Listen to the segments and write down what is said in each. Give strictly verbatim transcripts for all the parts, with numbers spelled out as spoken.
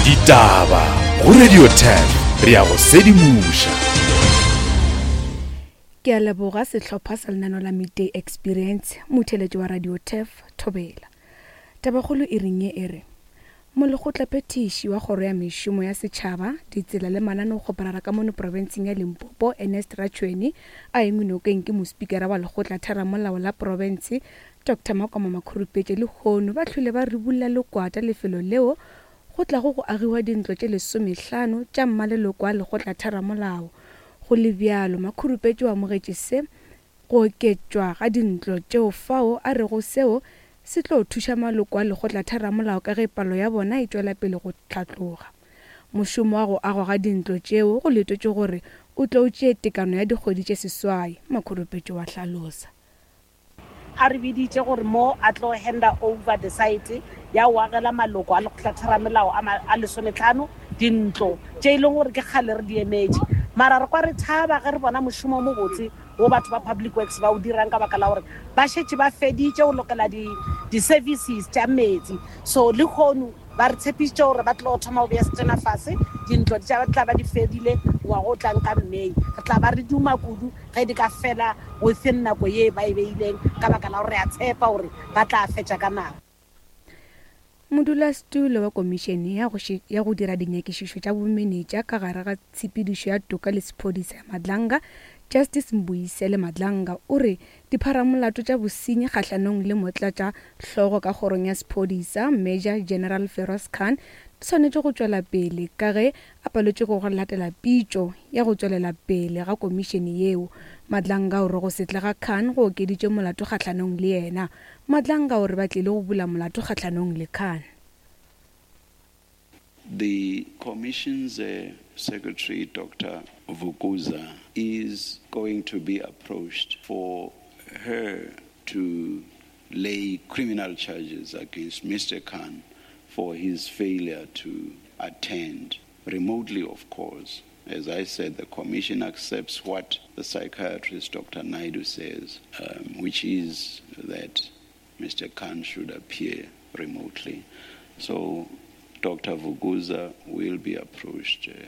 Ditaba go Radio ten re ya go sedimoša. Ke a leboga sehlopha sa lenano la Midday Experience, motheletši wa Radio Turf, Thobela. Tabakgolo e reng ye e re molekgotlaphethiši wa kgoro ya mešomo ya setšhaba, ditsela le mananeo-kgoparara ka mono profenseng ya Limpopo, Ernest Ratšhweni, a engwe nokeng ke mospikara wa lekgotlatheramolao la profense Doctor Makoma Makhurupetše lehono ba hlwele ba ribolla lekwata lefelo leo go tlago go agiwa dintlo tše lesomehlano tša mmaleloko a lekgotlatheramolao. Go le bjalo, Makhurupetše o amogetše se go oketšwa ga dintlo tšeo fao a rego seo se tlo thuša maloko a lekgotlatheramolao ka ge palo ya bona e tšwela pele go hlatloga. Mošomo wa go agwa ga dintlo tšeo go letetšwe gore o tlo tšee tekano ya dikgwedi tše seswai, Makhurupetše wa hlalosa. A re biditše gore mo a tlo handa over the site ya go agela maloko a lekgotlatheramolao a lesometlhano dintlo tše e leng gore ke kgale re di emetše. Mara re kwa re thaba ge re bona mošomo o mobotse wo batho ba Public Works ba o dirang ka baka la gore ba šetše ba feditše go lokela di-services tša metsi. So lehono ba re tshepišitše gore ba tlo thoma go bea setena fase, dintlo di tla ba di fedile ngwaga o tlang ka May. Re tla ba re duma kudu ge di ka fela within nako ye ba e beileng ka baka la gore re a tshepa gore ba tla fetša ka nako. Modulasetulo wa komišene ya go ya go dira dinyakišišo tša bomenetša ka gare ga tshepedišo ya toka le sephodisa ya Madlanga, Justice Mbuyisele Madlanga, o re dipharamolato tša bosenyi kgahlanong le motlatša hlogo ka kgorong ya sephodisa Major General Feroz Khan di swanetše go tšwela pele ka ge a paletšwe ke go latela pitšo ya go tšwelela pele ga komišene yeo. Madlanga o re go se tle ga Khan go okeditše molato kgahlanong le yena. Madlanga o re ba tlile go bula molato kgahlanong le Khan. The Commission's uh, Secretary, Doctor Vukuza, is going to be approached for her to lay criminal charges against Mister Khan for his failure to attend, remotely, of course. As I said, the Commission accepts what the psychiatrist, Doctor Naidu, says, um, which is that Mister Khan should appear remotely. So Doctor Vukuza will be approached uh,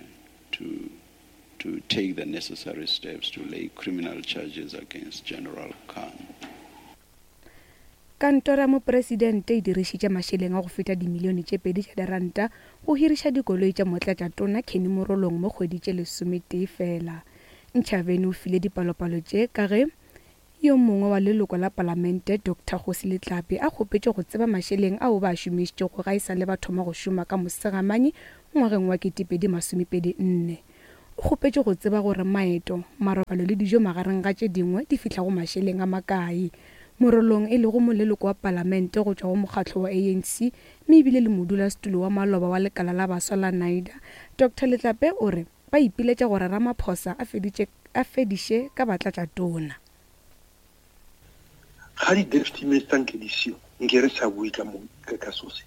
to, to take the necessary steps to lay criminal charges against General Khan. Kantoro ya mopresidente e dirišitše mašeleng a go feta dimilione tše pedi tša diranta go hiriša dikoloi tša motlatšatona Kenny Morolong mo kgwedi tše lesometee fela. Ntšhaveni o file dipalopalo tše ka ge yo mongwe wa leloko la palamente Doctor Kgosi Letlape a kgopetše go tseba mašeleng ao ba a šomišitšego ga e sa le ba thoma go šoma ka Mosegamanye ngwageng wa ketepedi masomepedi nne. O kgopetše go tseba gore maeto, marobalo le dijo magareng ga tše dingwe di fihla go mašeleng a makae. Morolong e lego moleloko wa palamente go tšwa go mokgatlo wa A N C mme ebile le modulasetulo wa maloba wa lekala la baswa la NIDA, Doctor Letlape o re ba ipiletša gore Ramaphosa a feditše a fediše ka batlatšatona. Ga di-deputy minister nke di seo, nke re sa bue ka mo, ka, ka so se.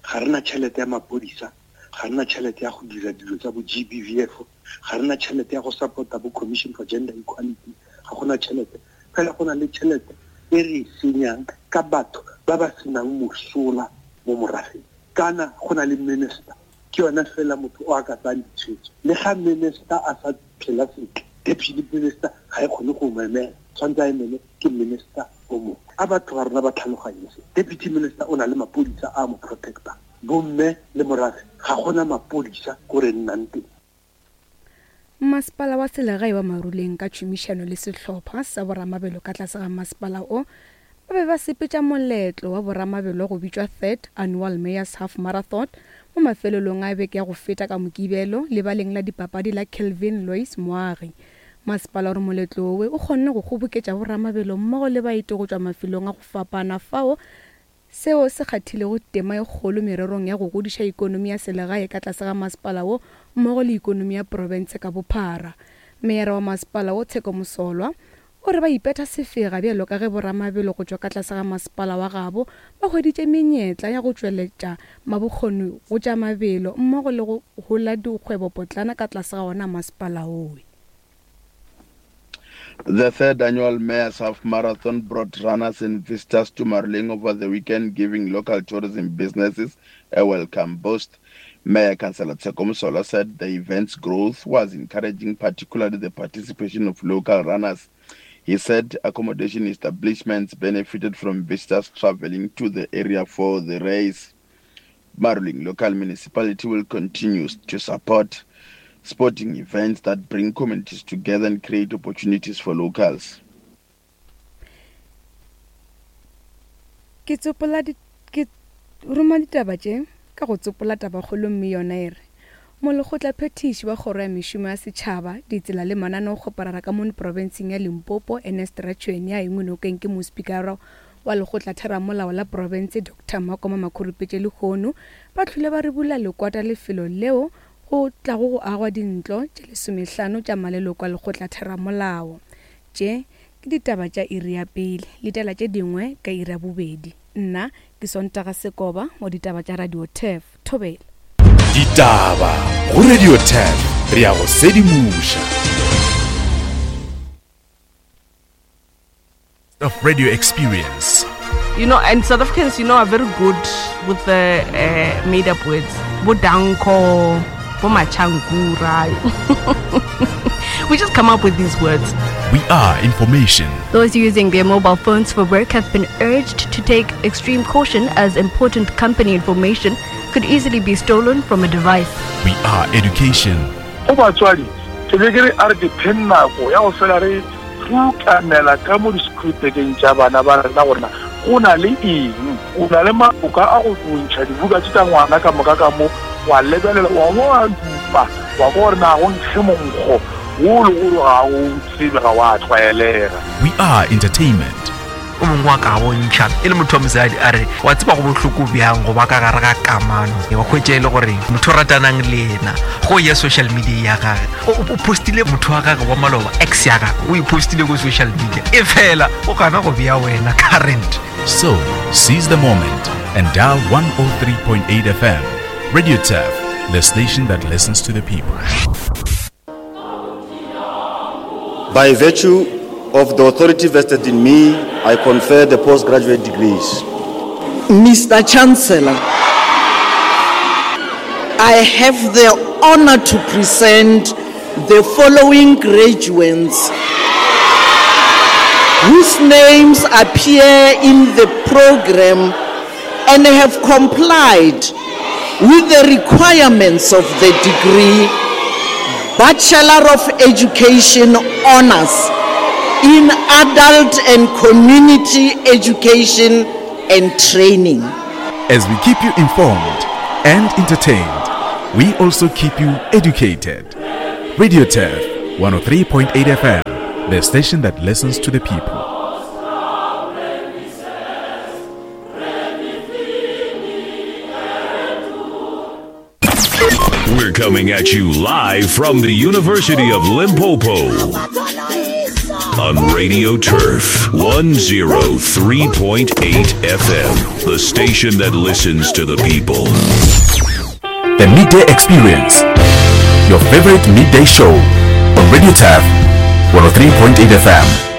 Ga re na tšhelete ya maphodisa, ga re na tšhelete ya go dira dilo tsa bo G B V F, ga re na tšhelete ya go support-a bo Commission for Gender Equality, ga gona tšhelete. Fela go na le tšhelete e re e senyang ka batho ba ba senang mosola mo morafeng. Kana go na le minister, ke yona fela motho o a ka tsayang ditshwetso. Le ga minister a sa phela sentle, deputy minister ga e kgone go mo emela, tshwanetse a emele ke minister o mongwe. A batho ba rona ba tlhaloganye se. Deputy minister o na le maphodisa a mo protector. Bomme le morafe ga gona maphodisa ko re nnang teng. Masepala wa selegae wa Maruleng ka tšhomišano le sehlopha sa boramabelo ka tlase ga masepala o ba be ba sepetša moletlo wa boramabelo go bitšwa Third Annual Mayor's Half Marathon mo mafelelong a beke ya go feta ka Mokibelo lebaleng la dipapadi la Kelvin Lois Moagi. Masepala o re moletlo owe o kgonne go kgoboketša boramabelo mmogo le baeti go tšwa mafelong a go fapana fao seo se kgathilego tema e kgolo mererong ya go godiša ikonomi ya selegae ka tlase ga masepala wo mmogo le ikonomi ya profense ka bophara. Meyara wa masepala wo Tsheko Mosolwa o re ba ipetha sefega bjalo ka ge boramabelo go tšwa ka tlase ga masepala wa gabo ba hweditše menyetla ya go tšweletša mabokgoni go tša mabelo mmogo le go hola dikgwebopotlana ka tlase ga ona masepala owe. The third annual Mayor's Half Marathon brought runners and visitors to Maruleng over the weekend, giving local tourism businesses a welcome boost. Mayor Councillor Tseko Mosola said the event's growth was encouraging, particularly the participation of local runners. He said accommodation establishments benefited from visitors traveling to the area for the race. Maruleng local municipality will continue to support sporting events that bring communities together and create opportunities for locals. Ke tsopola ke roma ditaba tše ka go tsopola tabakgolo mme yona e re molekgotla phetiši wa kgoro ya mešomo ya setšhaba ditsela le mananeo kgoparara ka mono profenseng ya Limpopo Ernest Ratšhweni ya engwe nokeng ke mospikara wa lekgotla theramolao la profense Doctor Makoma Makhurupetše lehono ba tlhole ba re bula lekwata lefelo leo go tlago go agwa dintlo tše lesomehlano tša maleloko a lekgotla theramolao. Tše ke ditaba tša iri ya pele letela tše dingwe ka iri ya bobedi. Nna ke Sontaga Sekoba wa ditaba tša Radio Turf. Thobela. Ditaba go Radio Turf, re ya go sedimoša. Of radio experience. You know, and South Africans, you know, are very good with the uh, made-up words. Bodanko, Bomachankura. We just come up with these words. We are information. Those using their mobile phones for work have been urged to take extreme caution as important company information could easily be stolen from a device. We are education. Go batswadi, ke be ke re a re depend nako ya go fela re rukanela ka mo di-scriptekeng tša bana ba rena gorena go na le eng, o na le maboka a go bontšha dibuka tše tša ngwana ka moka ka mo wa lebelela wa bo wa dupa wa ko gore na go nkge monkgo wo le gore ga o tsebe ga wa tlwaelega. We are entertainment. O mongwe wa ka bontšha e le motho wa mosadi a re wa tseba go bohloko bjang go ba ka gare ga kamano wa hwetša e le gore motho o ratanang le yena go ya social media ya gage o postile motho wa gage wa maloba ex ya gage o e postile ko social media e fela o gana go bea wena current. So seize the moment and dial one oh three point eight F M. Radio Turf, the station that listens to the people. By virtue of the authority vested in me, I confer the postgraduate degrees. Mister Chancellor, I have the honor to present the following graduates whose names appear in the program and have complied with the requirements of the degree Bachelor of Education Honors in Adult and Community Education and Training. As we keep you informed and entertained, we also keep you educated. Radio Turf, one oh three point eight F M, the station that listens to the people. We're coming at you live from the University of Limpopo on Radio Turf one oh three point eight F M, the station that listens to the people. The Midday Experience, your favorite midday show on Radio Turf one oh three point eight F M.